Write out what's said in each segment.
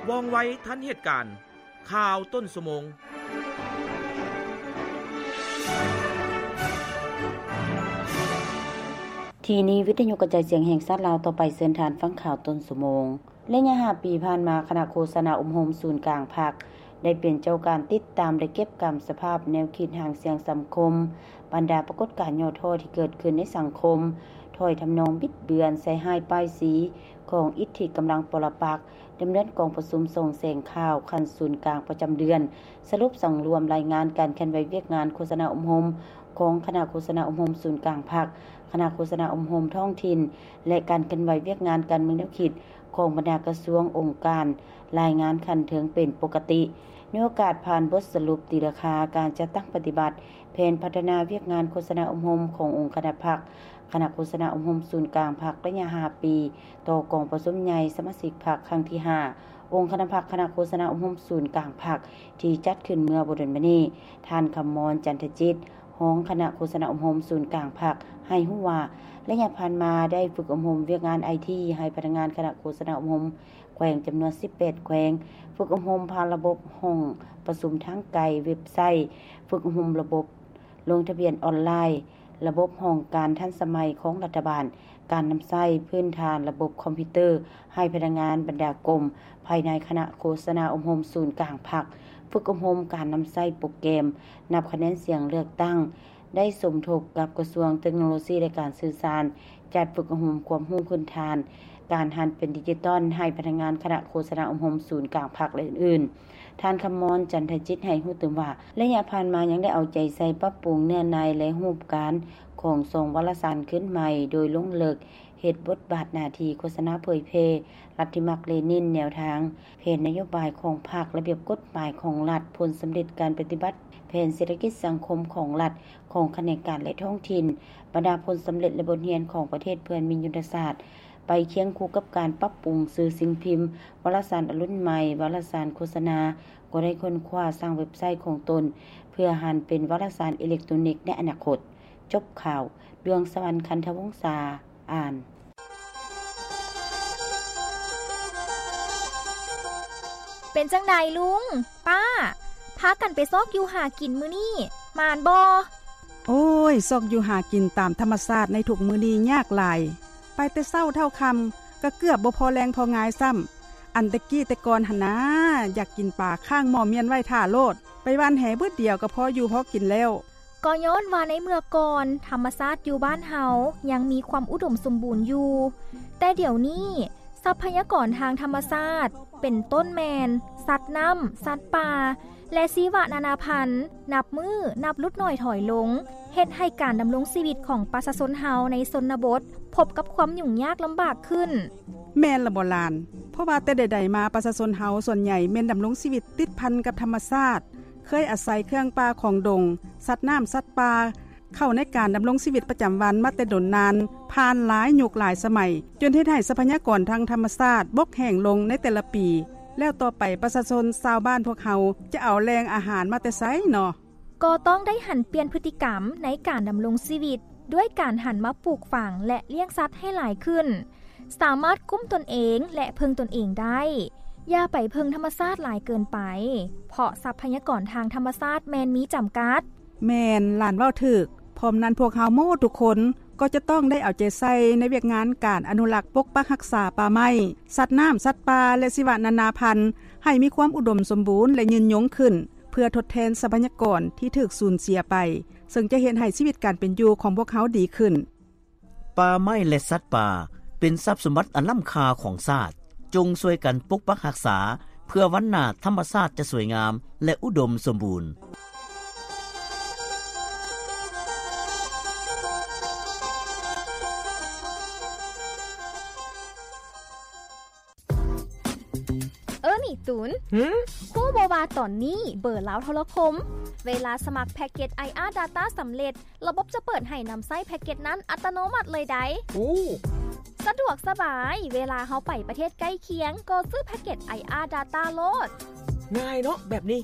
ວ່ອງໄວທັນເຫດການ. ຂ່າວຕົ້ນຊົ່ວໂມງ. ທີ່ນີ້ວິທະຍຸກະຈາຍສຽງແຫ່ງຊາດລາວ, ຕໍ່ໄປເຊີນທ່ານຟັງຂ່າວຕົ້ນຊົ່ວໂມງ. ໄລຍະຫ້າປີຜ່ານມາ, ຄະນະໂຄສະນາອົບຮົມສູນກາງພັກ ໄດ້ເປັນເຈົ້າການຕິດຕາມ ແລະ ເກັບກຳສະພາບແນວຄິດຫາງສຽງສັງຄົມ, ບັນດາປາກົດການຫຍໍ້ທໍ້ທີ່ເກີດຂຶ້ນໃນສັງຄົມ, ຖ້ອຍທຳນອງບິດເບືອນ, ໃສ່ຮ້າຍປ້າຍສີຂອງອິດທິກຳລັງປໍລະປັກ, ດຳເນີນກອງປະຊຸມສ່ອງແສງຂ່າວຂັ້ນສູນກາງປະຈຳເດືອນ, ສະຫຼຸບສັງລວມລາຍງານການເຄື່ອນໄຫວວຽກງານໂຄສະນາອົບຮົມຂອງຄະນະໂຄສະນາອົບຮົມສູນກາງພັກ, ຄະນະໂຄສະນາອົບຮົມທ້ອງຖິ່ນ ແລະ ການເຄື່ອນໄຫວວຽກງານການເມືອງແນວຄິດຂອງບັນດາກະຊວງ, ອົງການ, ລາຍງານຂັ້ນເທິງເປັນປົກກະຕິ. ໃນໂອກາດຜ່ານບົດສະຫຼຸບຕີລາຄາການຈັດຕັ້ງປະຕິບັດແຜນພັດທະນາວຽກງານໂຄສະນາອົບຮົມຂອງອົງຄະນະພັກ, ຄະນະໂຄສະນາອົບຮົມສູນກາງພັກໄລຍະຫ້າປີ ຕໍ່ກອງປະຊຸມໃຫຍ່ສະມາຊິກພັກຄັ້ງທີຫ້າ ອົງຄະນະພັກຄະນະໂຄສະນາອົບຮົມສູນກາງພັກ ທີ່ຈັດຂຶ້ນເມື່ອບໍ່ດົນມານີ້, ທ່ານ ຄຳມອນ ຈັນທະຈິດ, ຮອງຄະນະໂຄສະນາອົບຮົມສູນກາງພັກ ໃຫ້ຮູ້ວ່າ ໄລຍະຜ່ານມາໄດ້ຝຶກອົບຮົມວຽກງານໄອທີ ໃຫ້ພະນັກງານຄະນະໂຄສະນາອົບຮົມແຂວງຈຳນວນສິບແປດແຂວງ, ຝຶກອົບຮົມຜ່ານລະບົບຫ້ອງປະຊຸມທາງໄກ, ເວັບໄຊ, ຝຶກອົບຮົມລະບົບລົງທະບຽນອອນລາຍ, ລະບົບຫ້ອງການທັນສະໄໝຂອງລັດຖະບານ, ການນຳໃຊ້ພື້ນຖານລະບົບຄອມພິວເຕີໃຫ້ພະນັກງານບັນດາກົມພາຍໃນຄະນະໂຄສະນາອົບຮົມສູນກາງພັກ, ຝຶກອົບຮົມການນຳໃຊ້ໂປຣແກຣມນັບຄະແນນສຽງເລືອກຕັ້ງ, ໄດ້ສົມທົບກັບກະຊວງເຕັກໂນໂລຊີ ແລະ ການສື່ສານ, ຈັດຝຶກອົບຮົມຄວາມຮູ້ພື້ນຖານການຫັນເປັນດິຈິຕອນໃຫ້ພະນັກງານຄະນະໂຄສະນາອົບຮົມສູນກາງພັກ ແລະ ອື່ນໆ. ທ່ານ ຄຳມອນ ຈັນທະຈິດ ໃຫ້ຮູ້ຕື່ມວ່າ ໄລຍະຜ່ານມາຍັງໄດ້ເອົາໃຈໃສ່ປັບປຸງເນື້ອໃນ ແລະ ຮູບການຂອງຊ່ອງວາລະສານຄືນໃໝ່ ໂດຍລົງເລິກເຮັດບົດບາດໜ້າທີ່ໂຄສະນາເຜີຍແຜ່ລັດທິມາກເລນິນ, ແນວທາງແຜນນະໂຍບາຍຂອງພັກ, ລະບຽບກົດໝາຍຂອງລັດ, ຜົນສຳເລັດການປະຕິບັດແຜນເສດຖະກິດສັງຄົມຂອງລັດ, ຂອງຂະແໜງການ ແລະ ທ້ອງຖິ່ນ, ບັນດາຜົນສຳເລັດ ແລະ ບົດຮຽນຂອງປະເທດເພື່ອນມີຍຸດທະສາດ, ໄປຄຽງຄູ່ກັບການປັບປຸງສື່ສິ່ງພິມ, ວາລະສານອະລຸນໃໝ່, ວາລະສານໂຄສະນາ, ກໍໄດ້ຄົ້ນຄວ້າສ້າງເວັບໄຊຂອງຕົນ ເພື່ອຫັນເປັນວາລະສານອີເລັກໂຕນິກໃນອະນາຄົດ. ຈົບຂ່າວ, ດວງສະຫວັນ ຄັນທະວົງສາ ອ່ານ. ເປັນຈັ່ງໃດລຸງ, ປ້າ, ພາກັນໄປຊອກຢູ່ຫາກິນມື້ນີ້ ໝານບໍ່? ໂອ້ຍ, ຊອກຢູ່ຫາກິນຕາມທຳມະຊາດໃນທຸກມື້ນີ້ຍາກຫຼາຍ. ໄປແຕ່ເຊົ້າເທົ່າຄ່ຳ ກໍເກືອບບໍ່ພໍແລງພໍງາຍຊ້ຳ. ອັນແຕ່ກີ້ແຕ່ກ່ອນຫັ້ນນາ, ຢາກກິນປາຄ້າງໝໍ້ມ້ຽນໄວ້ຖ້າໂລດ, ໄປຫວ່ານແຫບຶດດຽວກໍພໍຢູ່ພໍກິນແລ້ວ. ກໍຍ້ອນວ່າໃນເມື່ອກ່ອນ ທຳມະຊາດຢູ່ບ້ານເຮົາຍັງມີຄວາມອຸດົມສົມບູນຢູ່, ແຕ່ດຽວນີ້ ຊັບພະຍາກອນທາງທຳມະຊາດ ເປັນຕົ້ນແມ່ນ ສັດນ້ຳ, ສັດປ່າ ແລະ ຊີວະນານາພັນ ນັບມື້ນັບຫຼຸດໜ້ອຍຖອຍລົງ, ເຮັດໃຫ້ການດຳລົງຊີວິດຂອງປະຊາຊົນເຮົາໃນຊົນນະບົດ ພົບກັບຄວາມຫຍຸ້ງຍາກລຳບາກຂຶ້ນ. ແມ່ນລະບໍ່ຫຼານ? ເພາະວ່າແຕ່ໃດໆມາ ປະຊາຊົນເຮົາສ່ວນໃຫຍ່ແມ່ນດຳລົງຊີວິດຕິດພັນກັບທຳມະຊາດ, ເຄີຍອາໄສເຄື່ອງປ່າຂອງດົງ, ສັດນ້ຳ, ສັດປ່າ ເຂົ້າໃນການດຳລົງຊີວິດປະຈຳວັນມາແຕ່ດົນນານ, ຜ່ານຫຼາຍຍຸກຫຼາຍສະໄໝ, ຈົນເຮັດໃຫ້ຊັບພະຍາກອນທາງທຳມະຊາດບົກແຫ້ງລົງໃນແຕ່ລະປີ, ແລ້ວຕໍ່ໄປປະຊາຊົນຊາວບ້ານພວກເຮົາຈະເອົາແຫຼ່ງອາຫານມາແຕ່ໃສເນາະ? ກໍຕ້ອງໄດ້ຫັນປ່ຽນພຶດຕິກຳໃນການດຳລົງຊີວິດ ດ້ວຍການຫັນມາປູກຝັງ ແລະ ລ້ຽງສັດໃຫ້ຫຼາຍຂຶ້ນ, ສາມາດກຸ້ມຕົນເອງ ແລະ ເພິ່ງຕົນເອງໄດ້. ຢ່າໄປເພິ່ງທຳມະຊາດຫຼາຍເກີນໄປ, ເພາະຊັບພະຍາກອນທາງທຳມະຊາດແມ່ນມີຈຳກັດ. ແມ່ນ, ຫຼານເວົ້າຖືກ. ພ້ອມນັ້ນ, ພວກເຮົາໝົດທຸກຄົນກໍຈະຕ້ອງໄດ້ເອົາໃຈໃສ່ໃນວຽກງານການອະນຸລັກປົກປັກຮັກສາປ່າໄມ້, ສັດນ້ຳ, ສັດປ່າ ແລະ ຊີວະນານາພັນ ໃຫ້ມີຄວາມອຸດົມສົມບູນ ແລະ ຍືນຍົງຂຶ້ນ, ເພື່ອທົດແທນຊັບພະຍາກອນທີ່ຖືກສູນເສຍໄປ, ເຊິ່ງຈະເຮັດໃຫ້ຊີວິດການເປັນຢູ່ຂອງພວກເຮົາດີຂຶ້ນ. ປ່າໄມ້ ແລະ ສັດປ່າ ເປັນຊັບສົມບັດອັນລ້ຳຄ່າຂອງຊາດ. ຈົ່ງຊ່ວຍກັນປົກປັກຮັກສາ ເພື່ອວັນໜ້າທຳມະຊາດຈະສວຍງາມ ແລະ ອຸດົມສົມບູນ. ເອີ ນີ້ຕຸນ, ຫື? ຮູ້ບໍ່ວ່າຕອນນີ້ເບີລາວໂທລະຄົມ ເວລາສະໝັກແພັກເກັດ ໄອອາ Data ສຳເລັດ, ລະບົບຈະເປີດໃຫ້ນຳໃຊ້ແພັກເກັດນັ້ນອັດຕະໂນມັດເລີຍໃດ໋. ໂອ້ ສະດວກສະບາຍ, ເວລາເຮົາໄປປະເທດໃກ້ຄຽງ ກໍຊື້ແພັກເກັດ ໄອອາ Data ໂລດ. ງ່າຍເນາະແບບນີ້,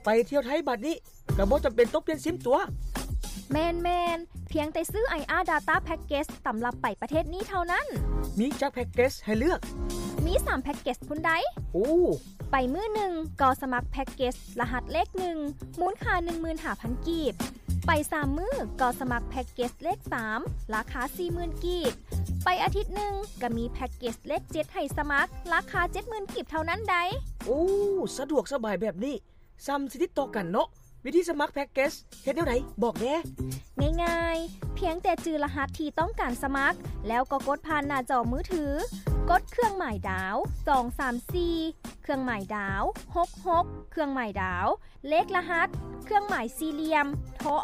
ໄປທ່ຽວໄທບາດນີ້ ກໍບໍ່ຈຳເປັນຕ້ອງປ່ຽນຊິມຕົວະ. ແມ່ນໆ, ພ ພຽງແຕ່ຊື້ ໄອອາ Data Package ຕຳລັບໄປປະເທດນີ້ເທົ່ານັ້ນ. ມີຈັກແພັກເກດໃຫ້ເລືອກ? ມີສາມແພັກເກດພຸ້ນໃດ໋. ໂອ້ ໄປມື້ໜຶ່ງກໍສະໝັກແພັກເກດລະຫັດເລກໜຶ່ງ ມູນຄ່າໜຶ່ງໝື່ນຫ້າພັນກີບ. ໄປສາມມື້ກໍສະໝັກແພັກເກດເລກສາມ ລາຄາສີ່ໝື່ນກີບ. ໄປອາທິດໜຶ່ງກໍມີແພັກເກດເລກເຈັດໃຫ້ສະໝັກ ລາຄາເຈັດໝື່ນກີບເທົ່ານັ້ນໃດ໋. ໂອ້ ສະດວກສະບາຍແບບນີ້ ສ່ຳຊິຕິດຕໍ່ກັນເນາະ. ວິທີສະໝັກແພັກເກດເຮັດແນວໃດ ບອກແດ່. ງ່າຍໆ ພຽງແຕ່ຈື່ລະຫັດທີ່ຕ້ອງການສະໝັກ ແລ້ວກໍກົດຜ່ານໜ້າຈໍມືຖື, ກົດເຄື່ອງໝາຍດາວ ສອງສາມສີ່ ເຄື່ອງໝາຍດາວ ຫົກຫົກ ເຄື່ອງໝາຍດາວ ເລກລະຫັດ ເຄື່ອງໝາຍສີ່ຫຼ່ຽມ ໂທ